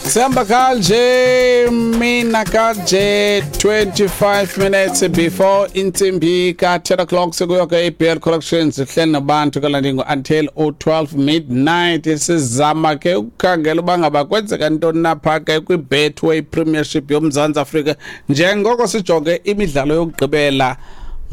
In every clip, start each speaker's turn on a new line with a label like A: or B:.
A: Sihamba kanje mina kanje 25 minutes before intsimbi ka-10 o'clock, sekuyoke i-BL Collections sihleli nabantu kalandingo until u-12 midnight. Sizama ke ukukhangela uba ngaba kwenzeka ntoni napha ke kwi-Betway Premiership yoMzantsi Afrika, njengoko sijonge imidlalo yokugqibela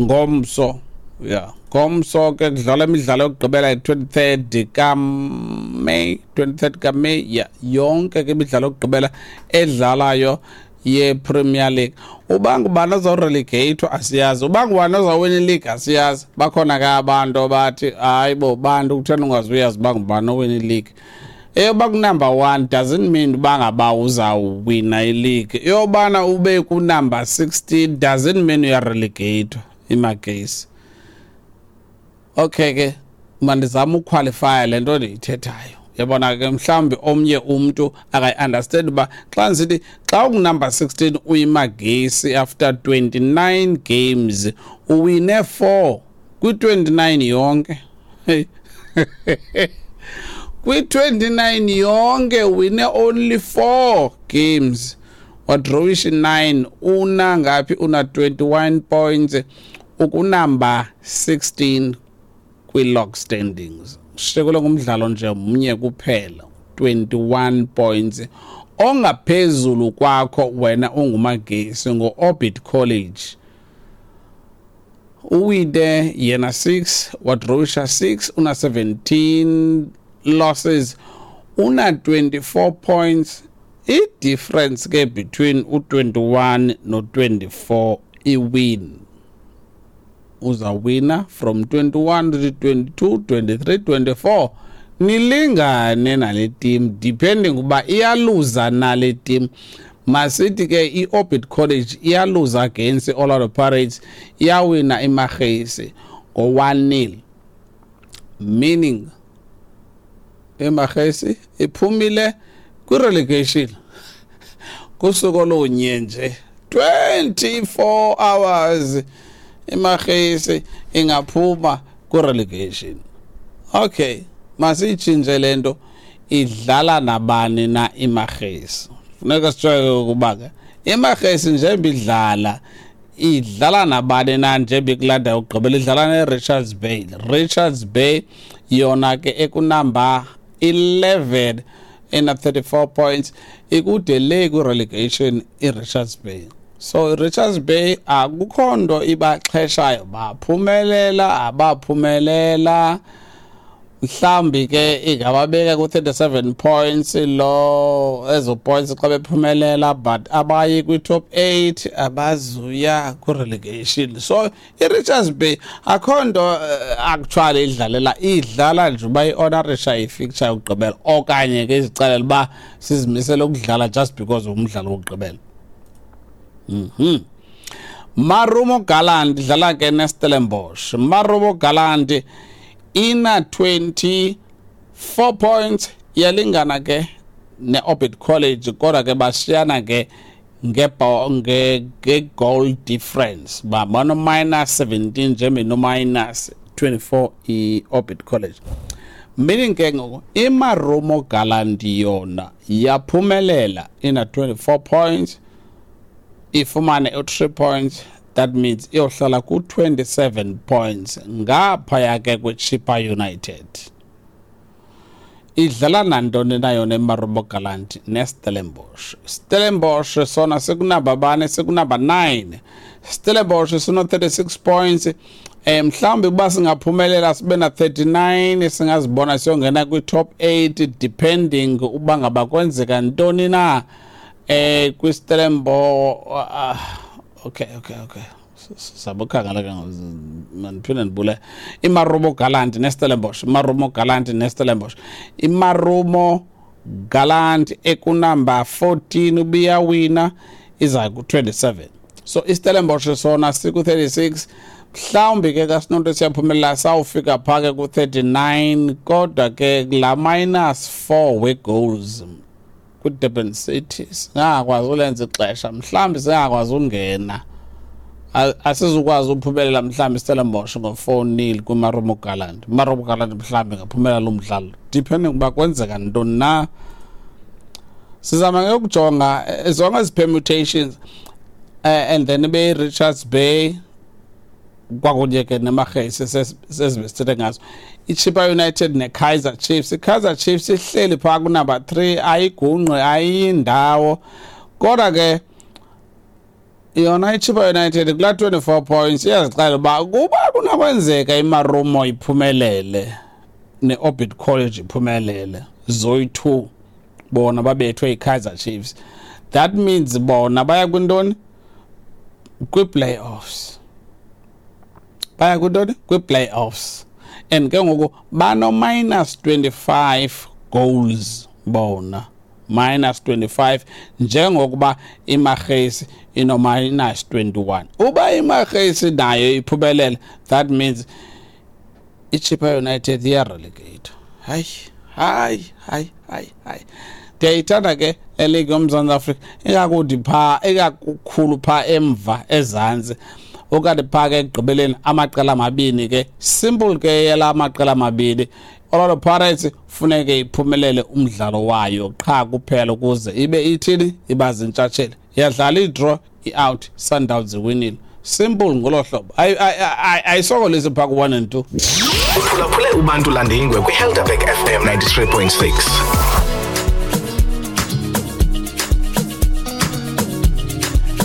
A: ngomso. Ya, ngomso ke kudlalwa imidlalo yokugqibela, i-23rd kaMay, 23rd kaMay. Ya, yonke ke imidlalo yokugqibela edlalayo ye-Premier League. Uba ngubani ozawurelegatwa asiyazi, uba ngubani ozawuwina ileague asiyazi. Bakhona ke abantu abathi, "Hayi bo bantu, kutheni ungazuyazi uba ngubani owina ileague?" Eyoba kunumber 1 doesn't mean uba ngaba uzawuwina ileague. Eyobana ube kunumber 16 doesn't mean uyarelegate. Imagesi, okay ke, mandizame uqualifya le nto ndiyithethayo. Yabona ke, mhlawumbi omnye umntu akayi-understand uba xa ndisithi xa ungunumber 16 uyiMagesi, after 29 games uwine 4 kwi-29 yonke. Hey. Kwi-29 yonke wine only 4 games, wadrowisha 9. Una ngaphi? Una 21 points, ukunumber 16 kwi-log standings. Shekule ngumdlalo nje mnye kuphela, 21 points. Ongaphezulu kwakho wena unguMagesi ngo-Orbit College, uwine yena 6, wadrowisha 6, una 17 losses, una 24 points. I-difference ke between u-21 no-24, i-win. Uzawina from 21 to 22, 23, 24, nilingane nale team, depending uba iyaluza nale team. Masithi ke i-Orbit College iyaluza against i-Orlando Pirates, iyawina iMagesi ngo-1-0, meaning iMagesi iphumile kwi-relegation kusuku olunye nje, 24 hours iMagesi ingaphuma ku-relegation. Okay, masiyitshintshe lento. Idlala nabani na iMagesi? Funeka sijwayele ukuba ke iMagesi njengoba idlala nabani na, njengoba ikulanda yokugqibela idlala ne-Richards Bay. Richards Bay yona ke ekunumber 11, ina 34 points, ikude le kwi-relegation i-Richards Bay. So i-Richards Bay akukho nto ibaxheshayo, baphumelela abaphumelela, mhlawumbi ke ingababeka ku-37 points lo, ezo points xa bephumelela, but abayi kwi-top 8, abazuya kwi-relegation. So i-Richards Bay akho nto actually idlalela, idlala nje uba i-honorisha i-fixture yokugqibela, okanye ke izixelela uba sizimisele ukudlala just because umdlalo wokugqibela. Marumo Gallant idlala ke neStellenbosch. Marumo Gallant ina 24 points, iyalingana ke ne-Orbit College, kodwa ke bashiyana ke nge-goal difference, ba bano minus 17 nje, no minus 24 i-Orbit College. Meaning ke ngoku iMarumo Gallant yona yaphumelela, ina 24 points, ifumane u-3 points, that means iyohlala ku-27 points, ngaphaya ke kweChippa United. Idlala nantoni na yona eMarumo Gallant? NeStellenbosch. Stellenbosch sona sekunumber bane? Sekunumber 9. Stellenbosch sino 36 points. Mhlawumbi kuba singaphumelela sibe na 39, singazibona siyongena kwi-top 8, depending uba ngaba kwenzeka ntoni na kwiStellenbosch. Okay, sabukhangela ke, mandiphinde ndibule. IMarumo Gallant neStellenbosch, iMarumo Gallant neStellenbosch. IMarumo Gallant ekunumber 14 ubiyawina iza ku-27, so iStellenbosch sona siku-36. Mhlawumbi ke xa sinonto siyaphumelela sawufika phaa ke ku-39, kodwa ke la minus 4 we-goals kwi-Durban City singakwazi ulenza ixesha, mhlawumbi singakwazi ungena, asizukwazi uphumelela mhlawumbi iStellenbosch ngo-4-0 kwiMarumo Gallant. Marumo Gallant mhlawumbi ingaphumelela lo mdlalo, depending uba kwenzeka ntoni na. Sizama ke ukujonga zonke ezi permutations, and then ibe Richards Bay kwakunye ke neMagesi, sezibe sithethe ngazo, iChippa United neKaizer Chiefs. IKaizer Chiefs ihleli phaa kunumber 3, ayigungqi, ayindawo, kodwa ke yona iChippa United kulaa 24 points iyazixela uba kuba kunokwenzeka iMarumo iphumelele ne-Orbit College iphumelele zoyi-2, bona babethwe yiKaizer Chiefs, that means bona baya kwintoni? Kwii-playoffs. Baya kwintoni? Kwii-playoffs. And ke ngoku bano-minus 25 goals bona, minus 25, njengokuba iMagesi ino-minus 21. Uba iMagesi nayo iphumelele, that means iChippa United iyarelegate. Hayi, hayi, hayi, hayi, hayi, ndiyayithanda ke eligi yoMzantsi Afrika, ikakuthi phaa, ikakukhulu phaa emva ezantsi, okanye phaa ke ekugqibeleni amaqela amabini ke. Simple ke yela amaqela amabini. Orlando Pirates funeke iphumelele umdlalo wayo qha kuphela ukuze ibe ithini, iba zintshatsheli. Yadlala i-draw, i-out, Sundowns iwinile. Simple ngolo hlobo, ayisokolisi phaa ku-1 and 2.
B: Uphulaphule uBantu Landingwe kwiHelderberg FM 93.6.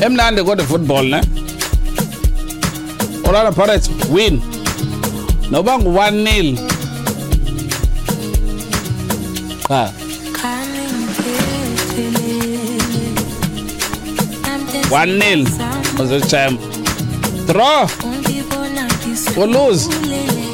A: Emnandi kodwa football ne. Orlando Pirates win noba ngu-1-0 qha. 1-0 uzochamp, draw or lose.